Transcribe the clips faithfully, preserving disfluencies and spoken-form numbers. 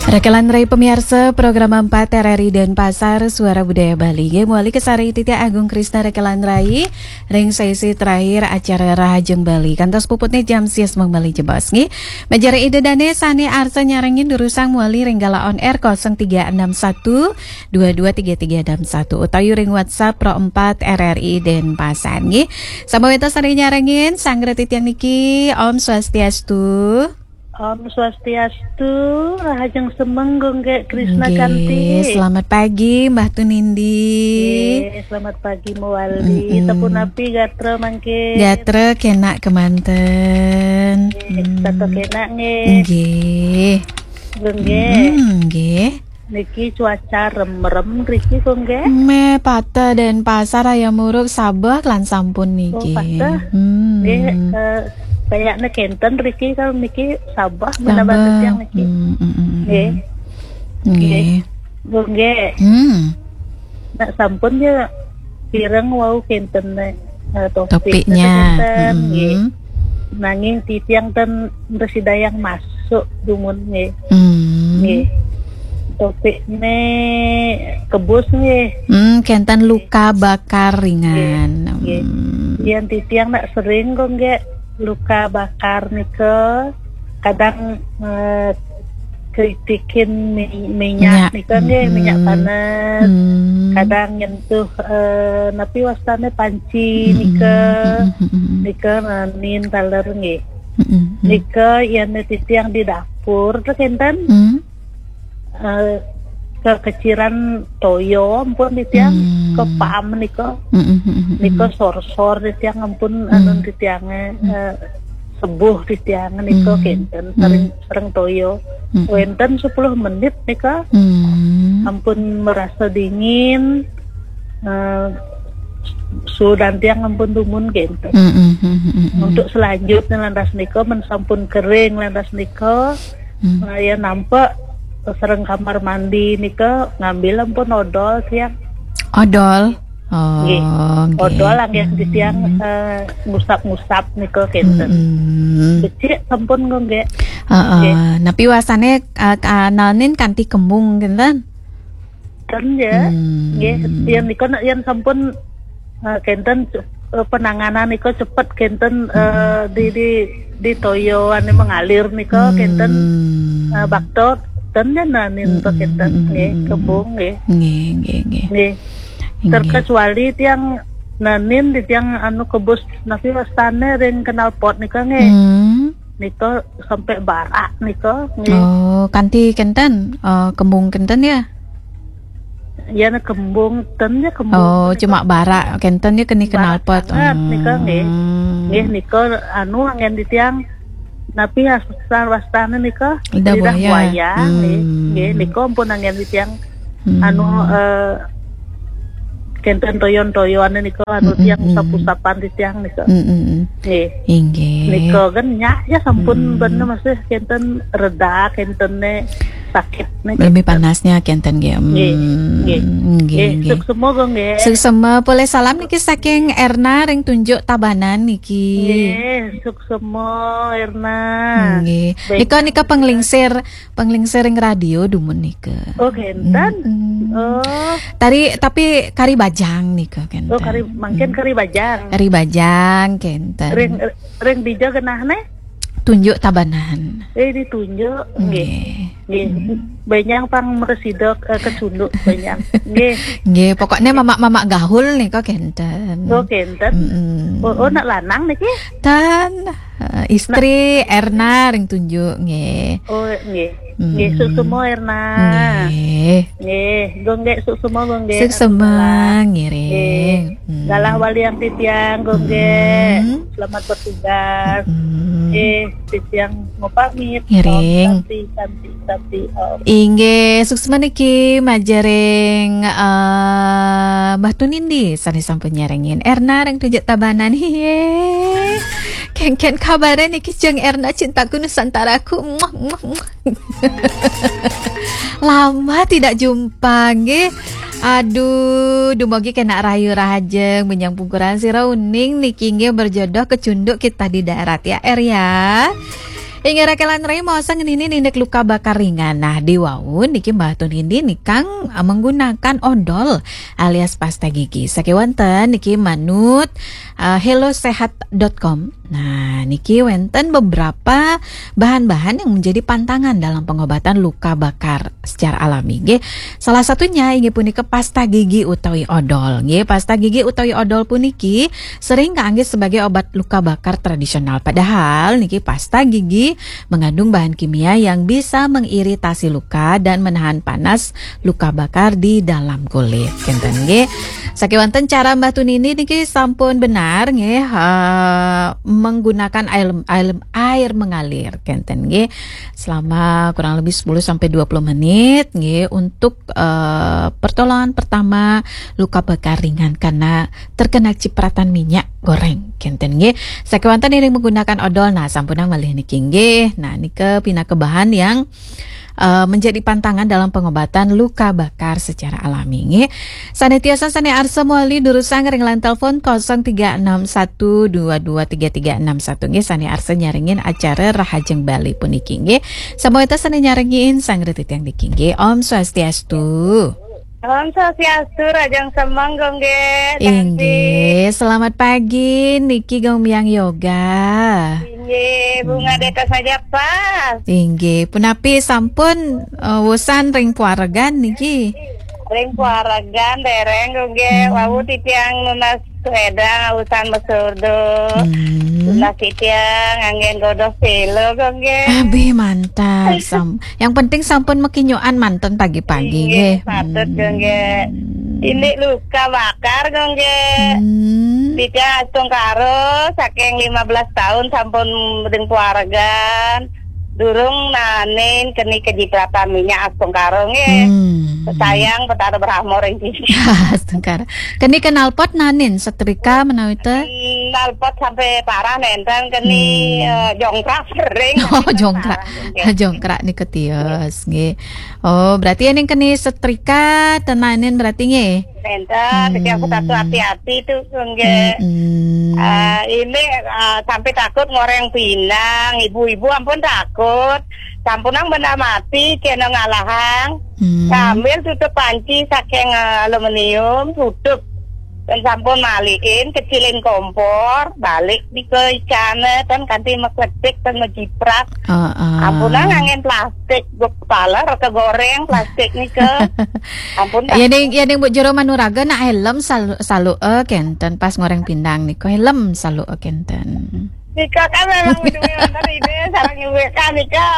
Rekelan rai pamiarsa program empat R R I Denpasar, Suara Budaya Bali. Nggih, mawali kasarengin titiang Agung Krisna Rekelan rai ring sesi terakhir acara Rahajeng Bali. Kantos puputne jam sias mung malih jebos, nggih. Majeng ring Ida Dane sane arsa nyarengin durusang mawali ring galah on air kosong tiga enam satu dua dua tiga tiga enam satu utawi ring WhatsApp Pro empat R R I Denpasar, nggih. Samaweta sane nyarengin, sanggra titiang niki, Om Swastiastu. Om Swastiastu, Rahajeng Semeng, Gung Gek Krisna Nggih, Kanti. Selamat pagi, Mbah Tunindi. Nggih, selamat pagi mawali. Mm-mm. Sapunapi gatra mangkin? Gatra kenak kemanten. Nggih, Hmm. Tata kenak nggih. Nggih. Gung Gek. Mm, nggih. Niki cuaca remrem riki, Gung Gek. Meh pateh Denpasar, Raya Muruk, Sabeh lan sampun niki. Oh, pateh. Hmm. Nggih, eh, kayakne kenten riki, kalau niki Sabeh, Sabeh. Menawi titiang niki. Hmm, hmm, hmm, hmm. Nggih. Nggih. Nggih. Gung Gek. Hmm. Nak sampun ya pireng wau kenten, eh, topik Topiknya. Kenten, nggih. Mm-mm. Nanging titiang ten prasida yang masuk dumun nggih. Hmm. Nggih. Topikne kebus nggih. Hmm, kenten luka bakar ringan. Nggih. Nggih. Hmm. Yen titiang nak sering kok nggih luka bakar nika kadang, eh, kritikin mi-, minyak Minyak. Nika nggih, minyak Mm-mm. Panas. Mm. Kadang nyentuh, eh, napi wastane panci Mm-mm. Nika. Mm-mm. Nika nanin taler nggih. Mm-mm. Nika yen titiang di dapur tuh kenten. Mm. Eh, kekeciran toyo ampun titiang, Mm. Kepaam nika. Mm-mm. Nika sor-sor titiang ampun Mm. anun titiange, Mm. eh, sebuh titiang nika Mm. kenten, Mm. Sering, sering toyo. Mm. Wenten sepuluh menit nika. Mm. Ampun merasa dingin, eh, sudan tiang ampun dumun kenten. Mm, mm, mm, mm, mm. Untuk selanjutnya lantas nika, men sampun kering lantas nika, Mm. eh, ya nampak sering kamar mandi nika ngambil ampun odol tiang. Odol? Oh, nggih. Nggih. Odol anggih di tiang, Mm. eh, ngusap-ngusap nika kenten. Mm, mm. Becik sampun kok nggih. Heeh. Nggih. Napi wasane, eh, ka-, nanin kanti kembung kenten? Ten ya. Hmm. Nggih, yen nika nak yen sampun, eh, kenten, eh, penanganan nika cepet kenten, eh, di, di, di toyo ane mengalir nika kenten, eh, bakto ten ya nanin to kenten nggih, kembung nggih. Nggih, nggih, nggih. Nggih. Nggih. Terkecuali tiang nanin di tiang anu kebus napi wastane ring knalpot nika nggih. Hmm. Nika sampai barak nika nggih. Oh, kanti kenten, eh, kembung kenten ya? Ya, nah, kembung ten ya, kembung Oh, ten cuma nika. Barak kenten ya keni knalpot. Barak banget nika nggih. Hmm. Nggih nika anu anggen di tiang napi asal wastane nika lidah buaya. Lidah buaya nggih. Hmm. Nggih nika ampun anggen di tiang Hmm. anu, eh, kenten toyon-toyone nika anu Mm, mm, tiang mm. Usap-usapan di tiang nika. Mm, mm, mm. Nggih. Inggih. Nika kan nyak ya sampun Mm. bener masih kenten reda kentene sakit nih. Lebih panasnya kenten nggih. Nggih. Hmm, nggih, nggih, nggih, nggih. Suksema kok nggih. Suksema, polih salam niki saking Erna ring Tunjuk Tabanan niki. Nggih, suksema Erna. Nggih. Baik. Nika, nika penglingsir Penglingsir ring radio dumun nika. Oh, kenten. Mm-mm. Oh. Tari, tapi kari bajang nika kenten. Oh, kari, mangkin kari bajang. Kari bajang kenten. Ring, ring dija genahne? Tunjuk Tabanan. Eh, di Tunjuk. Nggih. Nggih. Nggih. Mm. Bajang pang mresida, eh, kecunduk bajang. Nggih. Nggih, pokoknya mamak-mamak gaul nika kenten. Oh, kenten. Mm-mm. Oh, oh, nak lanang niki? Tan. Eh, istri Erna ring Tunjuk nggih. Oh, nggih. Hmm. Nggih, suksema Erna. Nggih. Nggih, Gung Gek suksema, Gung Gek. Suksema, ngiring. Nggih. Hmm. Galah waliang titiang, Gung Gek. Hmm. Selamat bertugas. Hmm. Nggih, titiang mau pamit. Ngiring. Om Santi, Santi, Santi, Om. Inggih, suksema niki majeng ring, eh, Mbah Tunindi sane sampun nyarengin. Erna ring Tunjuk Tabanan. Hiye. Kengken kabare niki Jeng Erna cintaku Nusantaraku. Muah, muah, muah. Lama tidak jumpa nggih. Aduh, dumugi kenak rahayu rahajeng, benjang pungkuran sira uning niki nggih berjodoh kecunduk kita di darat ya, Er ya. Inggih, Raka lan Rai, maos ngeninin indik luka bakar ringan. Nah, di wau niki Mbah Tunindi nikang, eh, menggunakan odol alias pasta gigi. Sakéwanten niki manut, eh, hellosehat dot com. Nah, niki wénten beberapa bahan-bahan yang menjadi pantangan dalam pengobatan luka bakar secara alami, nggih. Salah satunya inggih punika pasta gigi utawi odol, nggih. Pasta gigi utawi odol puniki sering kaanggé sebagai obat luka bakar tradisional. Padahal niki pasta gigi mengandung bahan kimia yang bisa mengiritasi luka dan menahan panas luka bakar di dalam kulit. Kénten, nggih. Sakéwanten cara Mbah Tunindi niki sampun benar, nggih, eh, menggunakan air, air, air mengalir, kénten, nggih. Selama kurang lebih sepuluh sampai dua puluh menit, nggih, untuk, eh, pertolongan pertama luka bakar ringan karena terkena cipratan minyak goreng, kénten, nggih. Sakéwanten iring menggunakan odol, nah, sampunang malih niki, nggih. Nah, nika pinaka bahan yang, eh, menjadi pantangan dalam pengobatan luka bakar secara alami, nggih. Sané tiosan, sané arsa mawali durusang ring line telepon kosong tiga enam satu dua dua tiga tiga enam satu, nggih, sané arsa nyarengin acara Rahajeng Bali puniki, nggih. Samawita sané nyarengin sang retiang niki, nggih. Om Swastiastu. Om Swastiastu, Rahajeng Semeng, Gung, nggih. Inggih, selamat pagi niki, Gung Biang Yoga. Inggih, Bunga Hmm. Deka saja pas. Inggih, punapi sampun, eh, wusan ring pawaregan niki? Ring pawaregan dereng, Gung, nggih. Hmm. Wau titiang nunas sepeda, wusan mesurdo. Hmm. Nunas titiang anggén godoh selo, Gung, nggih. Abih mantap. Sam-, yang penting sampun makinyokan manten pagi-pagi, Inggih, nggih. Patut, Hmm. Gung, nggih. Indik luka bakar, Gung, nggih. Hmm. Titiang astungkara saking lima belas tahun sampun ring pawaregan. Durung naenin keni kacipratan minyak astungkara, nggih. Hmm. Sayang Betara Brahma ring titiang. Astungkara. Keni knalpot naenin, setrika menawi té? Knalpot sampai parah nénten, keni, Hmm. eh, jongkrak sering, Oh, tapi jongkrak. Parah, nggih. Jongkrak nika tios, nggih. Oh, berarti ning keni setrika ten naenin berarti, nggih? Nénten, Hmm. titiang satu hati-hati tuh, nggih. Hmm. Eh, ini, eh, sampai takut ngoreng pindang, ibu-ibu ampun takut. Sampunang benda mati, kena ngalahang. Hmm. Sambil tutup panci saking, eh, aluminium, tutup. Dan sampun malihin, kecilin kompor, balik di ke icana, kan kanti makletik, kan majiprak. Heeh. Ampunang anggén plastik, gua kepala reka goreng plastik nika. Ampun, ya, ning, ya, ning Bu Jero Manuraga nak helm salu, salu, eh, kénten pas ngoreng pindang nika, helm salu, eh, kénten. Nika kan memang betul wonten ide sareng ibu kan nika.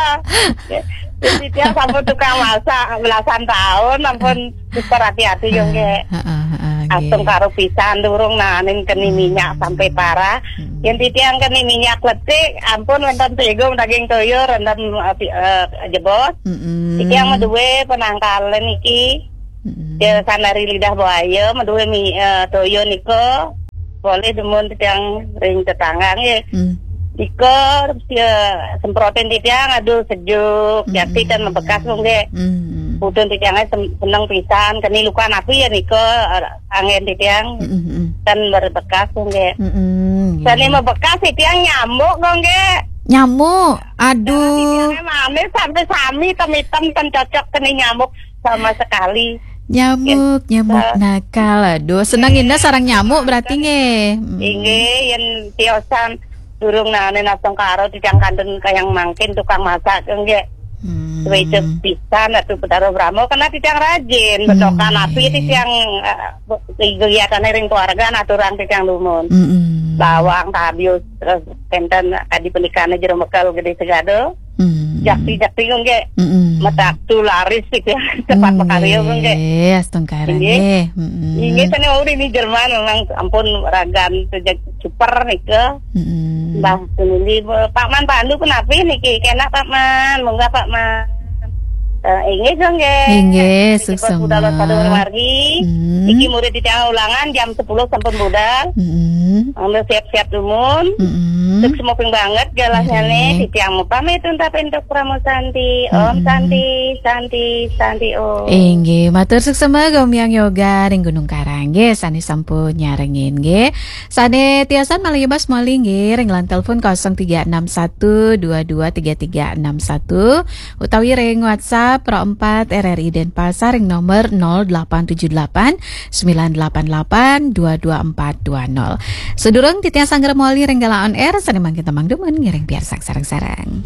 Jadi dia sampun tukang masak belasan tahun, ampun super hati-hati yo, nggih. Heeh, heeh, nggih. Astungkara pisan durung naenin keni Hmm. minyak sampai parah. Hmm. Yén titiang keni minyak letik, ampun wonten tegum daging toya rendem, eh, pi-, eh, jebos. Mm-mm. Titiang madué penangkalan iki. Mm-mm. Ya, sanari lidah buaya, madué mi-, eh, toya nika. Boleh demun titiang ring tetangga nggih. Hmm. Nika, ya, semprotin titiang, aduh, sejuk. Mm-mm. Jati kan membekas, nggih. Mm-mm. Pudun titiangé sem-, seneng pisan, keni luka napi ya nika, eh, anggén titiang Mm-mm. kan berbekas, nggih. Mm-mm, nggih. Sane membekas titiang nyamuk, nggih. Nyamuk, aduh. Titiangé manis sampai sami tem-item ten cocok keni nyamuk sama sekali. Nyamuk, nyamuk nakal. Aduh, seneng indah sareng nyamuk berarti nggih. Mm. Inggih, yen tiosan durung naenin astungkara titiang kantun kayang mangkin tukang masak nggih. Hmm. Suwe pisan Ratu Betara Brahma karena titiang rajin, bedokan api titiang, eh, kegiatane ring keluarga naturang titiang dumun. Mm-mm. Bawang, tabius, terus enten kadi pendikane jero mekel gede segado. Hmm. Jakti-jakti nggih. Mm-mm. Metaktu laris gitu ya. Cepat makarya nggih. Nggih, astungkara nggih. Mm-mm. Inggih, sane wau ini Jerman memang ampun ragan sejak super nika. Mm-mm. Mbah Tunindi, Pak Man Pandu kenapi niki? Kena Pak Man, munggah Pak Man. Eh, inggih, nggih. Inggih, niki suksma. Budal sadurung margi. Mm. Niki murid titiang ulangan jam sepuluh sampun budal. Mm-mm. Mangda siap-siap dumun. Mm-mm. Suksma banget galahnya Nggih. Nih, titiang pamit untapi antuk Parama Santi. Om Mm-mm. Santi, Santi, Santi Om. Inggih, matur suksma Gomiang Yoga ring Gunung Karang nggih, sane sampun nyarengin nggih. Sane tiosan malih bas malih nggih ring line telepon kosong tiga enam satu dua dua tiga tiga enam satu utawi ring WhatsApp Pro empat R R I Denpasar ring nomor nol delapan tujuh delapan sembilan delapan delapan dua dua empat dua nol. Sedurung titiang sanggra malih ring galah on air, sane mangkin temang dumun ngiring piarsang sareng-sareng.